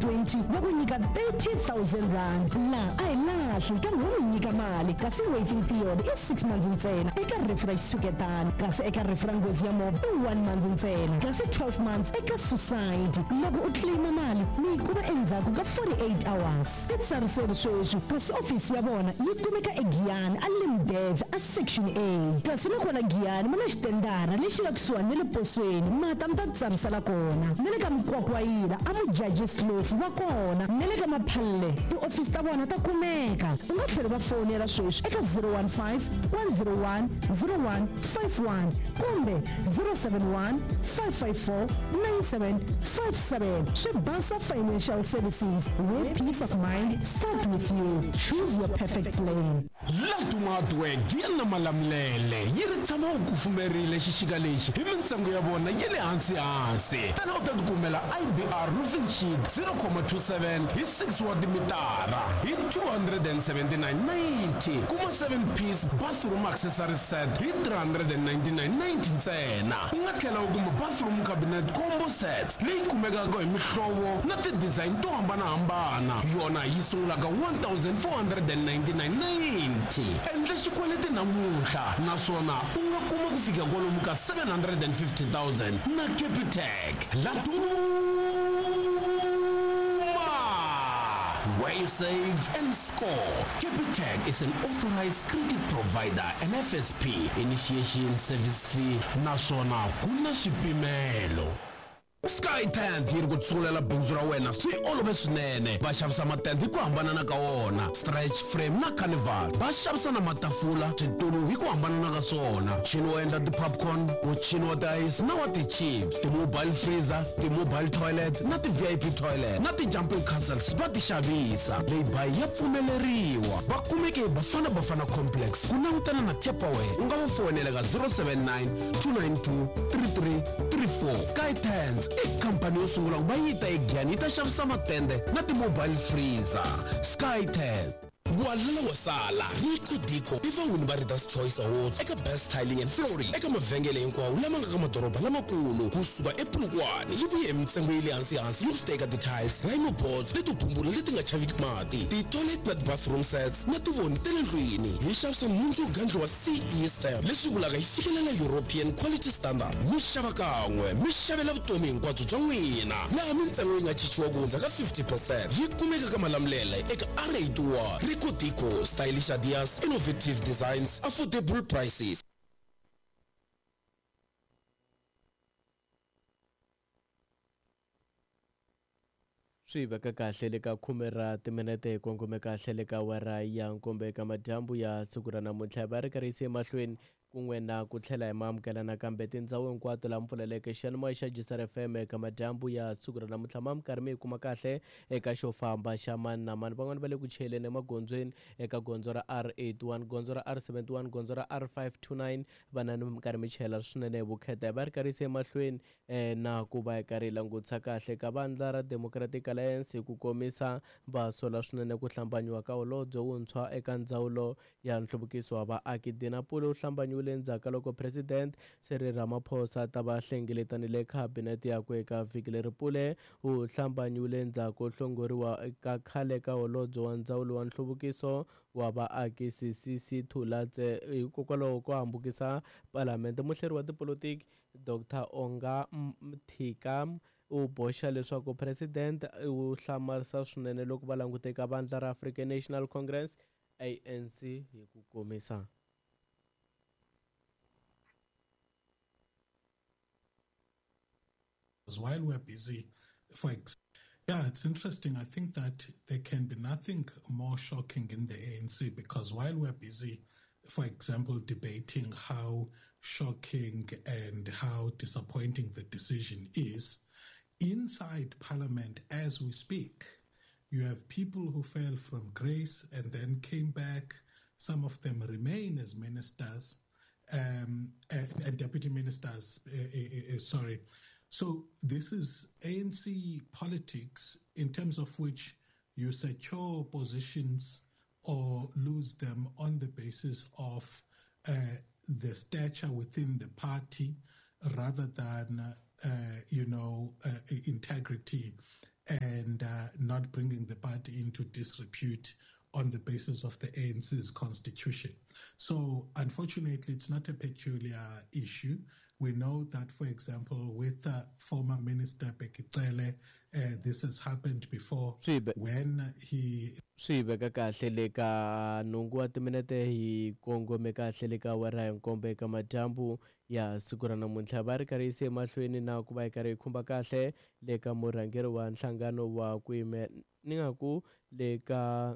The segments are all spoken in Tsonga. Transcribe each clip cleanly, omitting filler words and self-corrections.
20 va ku nyika R30 000. Laha a hi lahli kambe wo mi nyika mali, kasi waiting period i 6 months ntsena eka rifu ra xitshuketana, kasi eka rifu ra nghozi ya movha i 1 month ntsena, kasi 12 months eka suicide. Loko u claima mali mi yi kuma endzhaku ka 48 hours. Titsariseri sweswi, kasi ofisi ya vona yi kumeka eGiyani a Limdev a Section A, kasi na kona Giyani va na xitendara lexi nga kusuhani na le posweni, mata mi ta titsarisela kona. Na le ka Mukwakwayila a Mujajis Kloof va kona, na le ka Maphalle tiofisi ta vona ta kumeka. U nga tlhela va fowunela sweswi eka 015 101 0151 kumbe 071 554 9757. Swi basa Financial Services, where peace of mind start with you. Choose your perfect plan. Laduma Hardware Giya na Malamulele yi ri tshama u kufumerile xixika lexi hi mintsengo ya vona yi le hansi hansi. Tana u ta tikumela IBR roofing sheet 0.27 hi 6 wa timitara hi 279.90. Kuma 7 piece bathroom accessory set hi 399.90 ntsena. U nga tlhela u kuma bathroom cabinet combo sets leyi kumekaka hi mihlovo na ti-design to hambanahambana, yona yi sungulaka 1499.90. Endla xikweleti namuntlha naswona u nga kuma ku fika kwalomu ka 750 000 na Capitec. Laduma, where you save and score. Capitec is an authorized credit provider and FSP initiation service fee, naswona ku na swipimelo. Sky Tent yi ri ku tsungulela bindzu ra wena swi olove swinene. Va xavisa matende hi ku hambanana ka wona, stretch frame na carnival. Va xavisa na matafula, switulu hi ku hambanana ka swona, muchini wo endla ti-popcorn, muchini wa ti-ice na wa ti-chips, ti-mobile freezer, ti-mobile toilet na ti-VIP toilet na ti-jumping castles va ti xavisa. Lay-by ya pfumeleriwa. Va kumeke hi Bafana Bafana Complex ku langutana na Tupperware. U nga va foyinela ka 079 292 3334. Sky Tents i khampani yo sungula ku va yi ta eGiyani yi ta xavisa matende na ti-mobile freezer. Sky Tent. Walala wa sala, Rico Dico i vawini va Readers Choice Awards eka Best Tiling and Flooring eka mavhengele hinkwawo lama nga ka madoroba lamakulu kusuka ePolokwane. Yi vuye hi mintsengo yi le hansi hansi yo swi teka ti-tiles, lino boards leto bumbula leti nga chaviki mati, ti-toilet na ti-bathroom sets na tivoni ta le ndlwini. Hi xavisa nhundzu yo gandliwa CE stamp, leswi vulaka yi fikelela European quality standard. Mi xava kan'we mi xavela vutomi hinkwabyo bya n'wina, laha mintsengo yi nga chichiwa ku hundza ka 50%. Yi kumeka ka Malamulele eka R81. Rico Dico, stylish ideas, innovative designs, affordable prices. Swi veka kahle le ka khume ra timinete hi kongome kahle le ka awara ya nkombo eka madyambu ya siku ra namuntlha. Va ri karhi yise emahlweni kun'we na ku tlhela hi maamukela nakambe tindhawu hinkwato laha mi pfuleleke xiyanimoya xa Gisar FM eka madyambu ya siku ra namuntlha. Ma mi karhi mi yi kuma kahle eka xo famba xa mani na mani. Van'wani va le ku chayeleni emagondzweni eka gondzo ra R81, gondzo ra R71, gondzo ra R529, vanani mi karhi mi chayela swinene hi vukheta. Hi va ri karhi yise emahlweni na ku va hi karhi hi langutisa kahle ka vandla ra Democratic Alliance hi ku komisa va sola swinene ku hlambanyiwa ka holobye wuntshwa eka ndzawulo ya nhluvukiso wa vaaki. Dina Pule u hlambanyiwile endzhaku ka loko President Cyril Ramaphosa ta va hlengeletanile khabinete yakwe eka vhiki leri. Pule u hlambanyiwile endzhaku hlongoriwa ka khale ka holobye wa ndzawulo wa nhluvukiso wa vaaki Sisisi Thulatse hikokwalaho ko hambukisa palamende. Muhleri wa tipolotiki Dr Onga Mthika u boxa leswaku president u hlamarisa swinene loko va langute ka vandla ra African National Congress ANC hi ku komisa. While we're busy, for example, yeah, it's interesting. I think that there can be nothing more shocking in the ANC because while we're busy, for example, debating how shocking and how disappointing the decision is, inside Parliament as we speak, you have people who fell from grace and then came back. Some of them remain as ministers and deputy ministers, sorry. So this is ANC politics in terms of which you secure positions or lose them on the basis of the stature within the party rather than, integrity. and not bringing the party into disrepute on the basis of the ANC's constitution. So, unfortunately, it's not a peculiar issue. We know that, for example, with former Minister Bheki Cele, this has happened before when he Swi veka kahle le ka nhungu wa timinete hi kongome kahle le ka awara ya nkombo eka madyambu ya siku ra namuntlha. Va ri karhi yise emahlweni na ku va yi karhi yi khumba kahle le ka murhangeri wa nhlangano wa ku yime ni nga ku le ka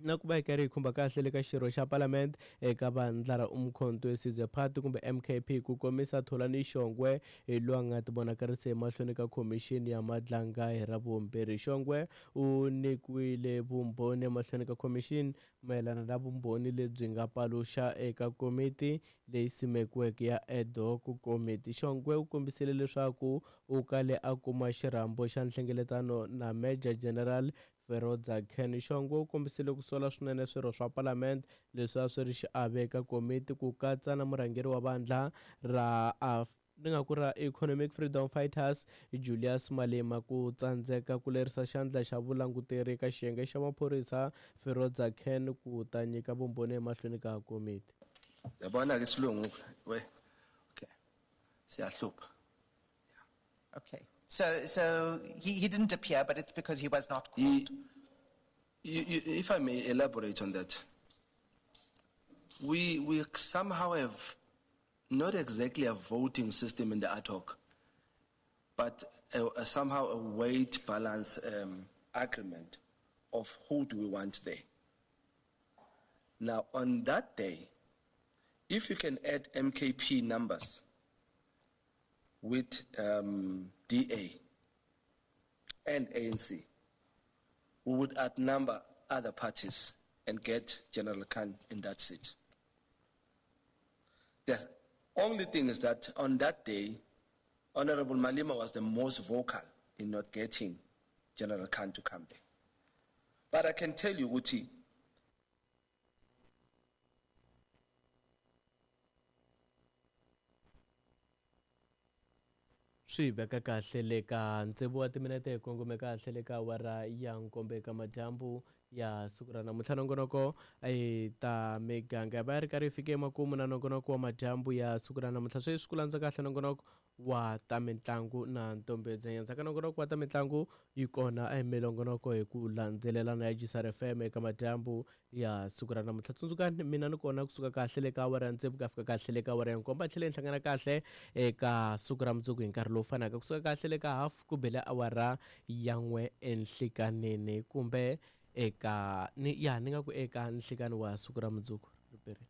na ku va yi karhi yi khumba kahle le ka xirho xa palamende eka vandla ra Umkhonto we Sizwe Party kumbe MKP, ku komisa Tholani Shongwe hi loyi a nga tivonakarisa emahlweni ka khomixini ya Madlanga hi Ravumbirhi. Shongwe u nyikiwile vumbhoni emahlweni ka khomixini mayelana na vumbhoni lebyi nga paluxa eka komiti leyi simekiweke ya ad hoc committee. Shongwe u kombisile leswaku u kale a kuma xirhambo xa nhlengeletano na Major General Feroza Khan. Shongwe u kombisile ku sola swinene swirho swa palamende leswi a swi ri xiave eka komiti, ku katsa na murhangeri wa vandla ra ni nga ku ra Economic Freedom Fighters Julius Malema, ku tsandzeka ku lerisa xandla xa vulanguteri eka xiyenge xa maphorisa Feroza Khan ku ta nyika vumbhoni emahlweni ka komiti. Yabona ke isilungu we, okay, siyahlupha. Okay. So he didn't appear, but it's because he was not called. If I may elaborate on that, we somehow have not exactly a voting system in the ad hoc, but somehow a weight balance agreement of who do we want there. Now, on that day, if you can add MKP numbers with DA and ANC, we would outnumber other parties and get General Khan in that seat. The only thing is that on that day, Honorable Malema was the most vocal in not getting General Khan to come there. But I can tell you, Uti, swi veka kahle le ka tsevu wa timinete hi kongome kahle le ka awara ya nkombo eka madyambu ya siku ra namuntlha. Nongonoko ta miganga va ri karhi yi fike emakumu na nongonoko wa madyambu ya siku ra namuntlha. Sweswi ku landza kahle nongonoko wa ta mitlangu na ntombedze. Endzhaku ka nongonoko wa ta mitlangu yi kona emilongonoko hi ku landzelelana ya GCR FM eka madyambu ya siku ra namuntlha. Tsundzukani mina ni kona kusuka kahle le ka awara ya tsevu ku ya fika kahle le ka awara ya nkombo, a tlhela hi hlangana kahle eka siku ra mundzuku hi nkarhi lowu fanaka, kusuka kahle le ka half ku bele awara ya 1 enhlikanini kumbe eka ni ya ni nga ku eka nhlikani wa siku ra mundzuku. Riperile.